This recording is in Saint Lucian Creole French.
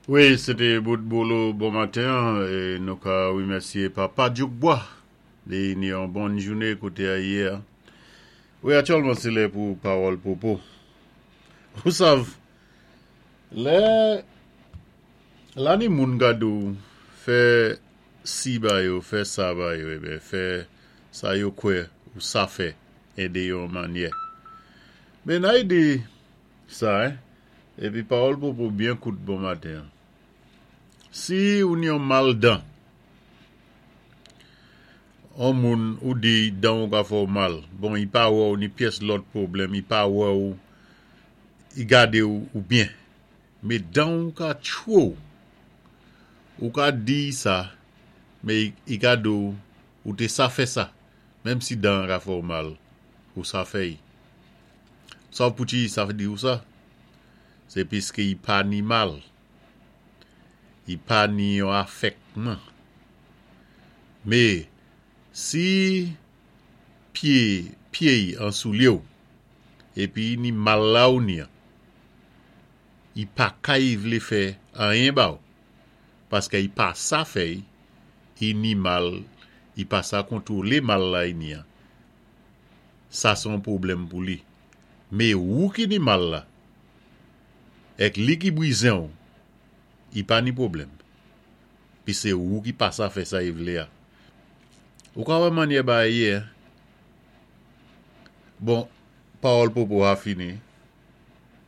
Wi, sé té bout Bolo bon maten an, é nou ka wimèsyé Papa Dyoukbwa. Li ni yon bòn jouné koté a yé a. Wi, aktyèlman sé lè pou pawòl popo. Ou sav, lè la ni moun ka di w fè si ba yo, fè sa ba yo, eben fè sa yo kwè ou sa fè édé yo yon manyè. Men nay di sa, hein, Epi pawòl popo byen kout bon maten an. Si ou ni yon mal dan, on moun ou di dan ou ka fè w mal, bon i pa wè w ni pyès lòt pwoblèm, i pa wè w, i gade w ou byen, me dan ou ka tchwe w, ou ka di i sa, me i ka di w ou te sa fè sa, menm si dan an ka fè w mal, ou sa fè i. Sa w pouti sa di w sa? Se piske i pa ni mal. I pa ni yon afèkman. Me, si pye pye y an soulye w, epi i ni mal la ou ni an, i pa kay vle fè anyen ba w, paske i pa sa fè y, i ni mal, i pa sa kontwole mal la i ni an. Sa se yon pwoblèm pou li. Me wou ki ni mal la, èk li ki brizen w, i pa ni pwoblèm. Pi se wou ki pa sa fè sa i vle a. Ou ka wè mannyè bagay ye, hein. Bon, pawòl popo a fini.